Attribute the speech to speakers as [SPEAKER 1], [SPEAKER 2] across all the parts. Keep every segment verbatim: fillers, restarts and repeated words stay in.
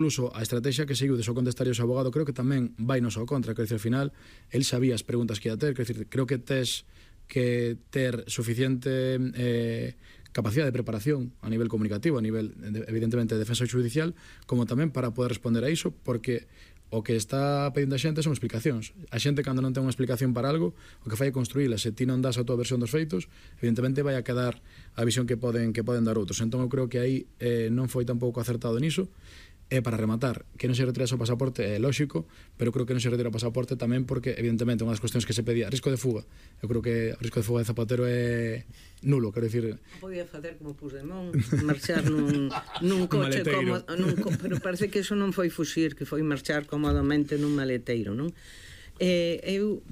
[SPEAKER 1] Incluso a estrategia que seguiu de só contestar ao abogado creo que tamén vai nos ao contra, quero dicir, ao final el sabía as preguntas que ia ter, quero dicir, creo que tes que ter suficiente eh, capacidade de preparación a nivel comunicativo, a nivel, de, evidentemente, de defensa judicial, como tamén para poder responder a iso, porque o que está pedindo a xente son explicacións. A xente, cando non ten unha explicación para algo, o que fai é construíla. Se ti non das a tua versión dos feitos, evidentemente vai a quedar a visión que poden que poden dar outros. Entón, eu creo que aí eh, non foi tampouco acertado niso. E para rematar, que non se retira o pasaporte é lógico, pero creo que non se retira o pasaporte tamén porque, evidentemente, unha das cuestións que se pedía, risco de fuga. Eu creo que o risco de fuga de Zapatero é nulo, quero dicir...
[SPEAKER 2] Podía facer como Puigdemont, marchar nun, nun coche como... Nun, pero parece que eso non foi fuxir, que foi marchar cómodamente nun maleteiro, non? Eh, eu...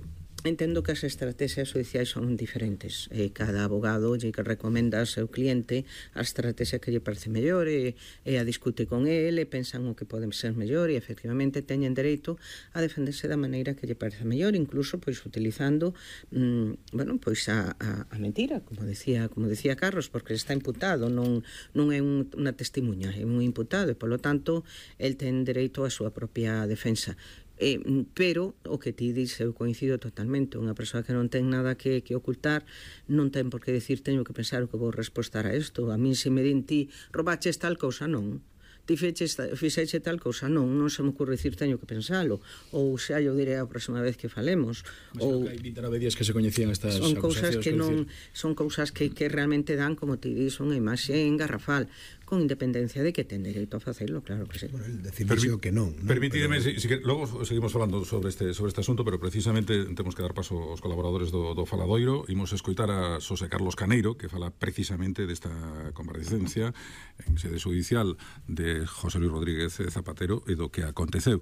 [SPEAKER 2] Entendo que as estrategias judiciais son diferentes e cada abogado lle que recomenda ao seu cliente a estrategia que lle parece mellor e, e a discute con ele e pensan o que pode ser mellor e efectivamente teñen dereito a defenderse da maneira que lle parece mellor, incluso pois utilizando mmm, bueno, pois a, a, a mentira, como decía, como decía Carlos, porque está imputado, non, non é un, unha testimuña, é un imputado e polo tanto el ten dereito á súa propia defensa. Eh, pero o que ti dis eu coincido totalmente, unha persoa que non ten nada que, que ocultar non ten por que decir teño que pensar o que vou respostar a isto. A min se me din ti roubaches tal cousa, non, ti feches, fixeche tal cousa, non, non se me ocurre dicir teño que pensalo, ou xa eu diré a próxima vez que falemos.
[SPEAKER 1] Mas ou hai vinte e nove días que se coñecían estas
[SPEAKER 2] son cousas que non, son cousas que, que realmente dan, como ti dis, unha imaxe engarrafal, con independencia de que ten dereito a facelo, claro que sí.
[SPEAKER 3] Bueno, el decidirse o que non, ¿no?
[SPEAKER 4] Permitideme, pero... si, si que, logo seguimos falando sobre este sobre este asunto, pero precisamente temos que dar paso aos colaboradores do, do Faladoiro. Imos escoitar a Xosé Carlos Caneiro, que fala precisamente desta comparecencia en sede judicial de José Luis Rodríguez Zapatero e do que aconteceu.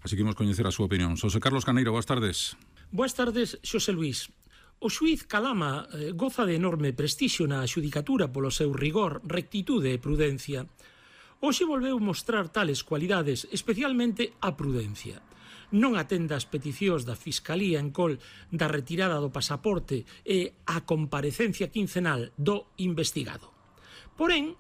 [SPEAKER 4] Así que imos coñecer a súa opinión. Xosé Carlos Caneiro, boas tardes.
[SPEAKER 5] Boas tardes, Xosé Luís. O xuíz Calama eh, goza de enorme prestixio na xudicatura polo seu rigor, rectitude e prudencia. Hoxe volveu mostrar tales cualidades, especialmente a prudencia. Non atenda as peticións da Fiscalía en col da retirada do pasaporte e a comparecencia quincenal do investigado. Porén,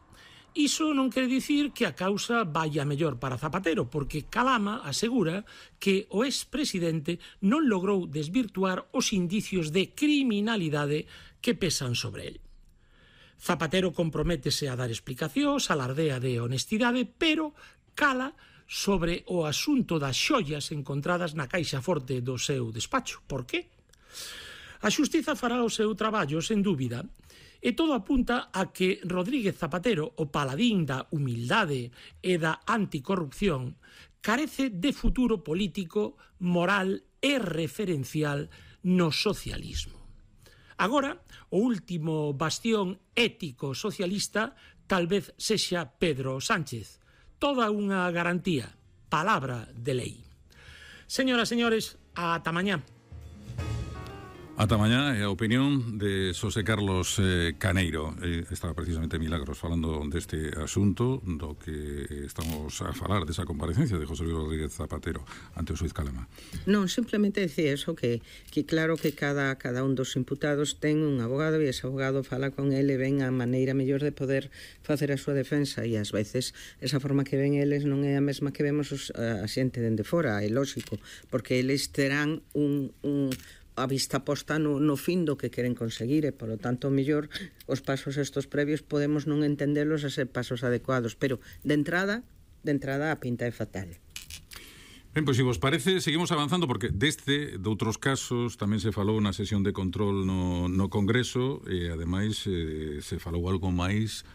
[SPEAKER 5] iso non quere dicir que a causa vaya mellor para Zapatero, porque Calama asegura que o expresidente non logrou desvirtuar os indicios de criminalidade que pesan sobre el. Zapatero comprométese a dar explicacións, alardea de honestidade, pero cala sobre o asunto das xoias encontradas na caixa forte do seu despacho. Por qué? A xustiza fará o seu traballo, sen dúbida, e todo apunta a que Rodríguez Zapatero, o paladín da humildade e da anticorrupción, carece de futuro político, moral e referencial no socialismo. Agora, o último bastión ético socialista tal vez sexa Pedro Sánchez. Toda unha garantía, palabra de lei. Señoras, señores, ata mañá.
[SPEAKER 4] Ata mañá é a opinión de Xosé Carlos eh, Caneiro. Eh, estaba precisamente Milagros falando deste asunto do que estamos a falar, desa comparecencia de José Luis Rodríguez Zapatero ante o xuíz Calama.
[SPEAKER 2] Non, simplemente decía eso, que, que claro que cada, cada un dos imputados ten un abogado e ese abogado fala con ele e ven a maneira mellor de poder facer a súa defensa e ás veces esa forma que ven eles non é a mesma que vemos os, a xente dende fora, é lógico, porque eles terán un... un a vista posta no, no fin do que queren conseguir e, polo tanto, mellor os pasos estos previos podemos non entendelos a ser pasos adecuados, pero de entrada, de entrada a pinta é fatal.
[SPEAKER 4] Ben, pois, se vos parece, seguimos avanzando, porque deste, de outros casos, tamén se falou na sesión de control no, no Congreso e, ademais, eh, se falou algo máis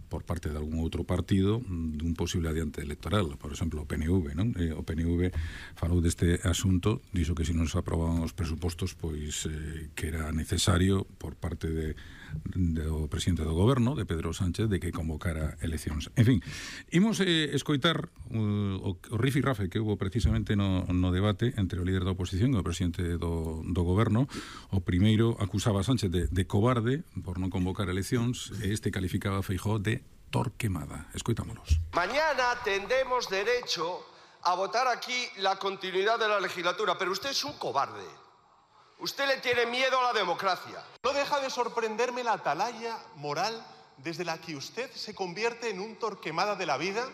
[SPEAKER 4] por parte de algún outro partido dun posible adiante electoral, por exemplo, o P N V, non? Eh, o P N V falou deste asunto, dixo que se non se aprobaban os presupostos, pois eh, que era necesario por parte de, do presidente do goberno, de Pedro Sánchez, de que convocara eleccións. En fin, imos eh, escoitar uh, o, o rifirrafe que hubo precisamente no, no debate entre o líder da oposición e o presidente do, do goberno. O primeiro acusaba a Sánchez de, de cobarde por non convocar eleccións e este calificaba a Feijóo de Torquemada. Escoitámonos.
[SPEAKER 6] Mañana tendremos derecho a votar aquí la continuidad de la legislatura, pero usted es un cobarde. Usted le tiene miedo a la democracia.
[SPEAKER 7] No deja de sorprenderme la atalaya moral desde la que usted se convierte en un Torquemada de la vida,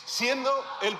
[SPEAKER 7] siendo el